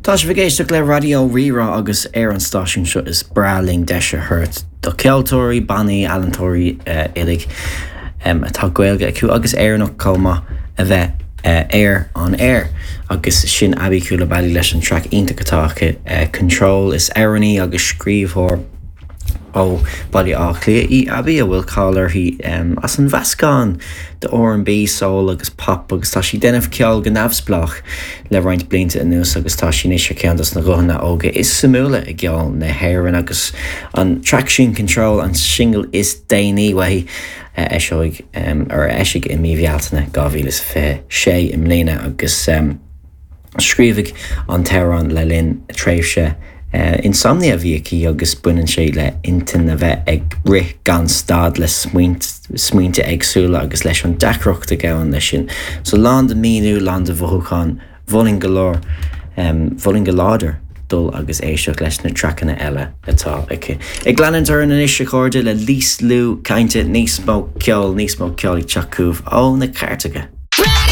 Tá sibh ag éisteacht le Raidió Rí-Rá agus ar an stáisiún seo is breá linn deis a thabhairt do cheoltóirí, bannaí, ealaíontóirí uilig atá Gaeilge acu agus Éireannach chomh maith a bheith ar an aer. Agus sin Aby Coulibaly leis an traic iontach atá aici 'Control'. Is amhránaí agus scríbhneoir Ó Bhaile Átha Cliath í Aby, a bhfuil cáil uirthi as an mheascán de R&B, soul agus pop agus tá sí ag déanamh ceoil go neamhspleách le roinnt blianta anuas agus tá sí anois ar cheann dos na guthanna óga is suimiúla i gceol na hÉireann agus an traic sin Control an singil is déanaí uaithi a eiseoidh or a eisigh i mí Bhealtaine 2026 i mbliana agus. Scríobhadh an t-amhrán le linn tréimhse insomnia a bhí aici agus baineann sé le intinn a bheith ag rith gan stad le smaointe éagsúla agus leis an deacracht a ghabhann leis sin. So lán de míniú, lán de mhothúcháin, mholfainn go leor, mholfainn go láidir dul agus éisteacht leis na traiceanna eile atá aici. Ag leanúint orainn anois a chairde le níos lú cainte, níos mó ceoil, níos mó ceoil ag teacht chugaibh ó na cairteacha.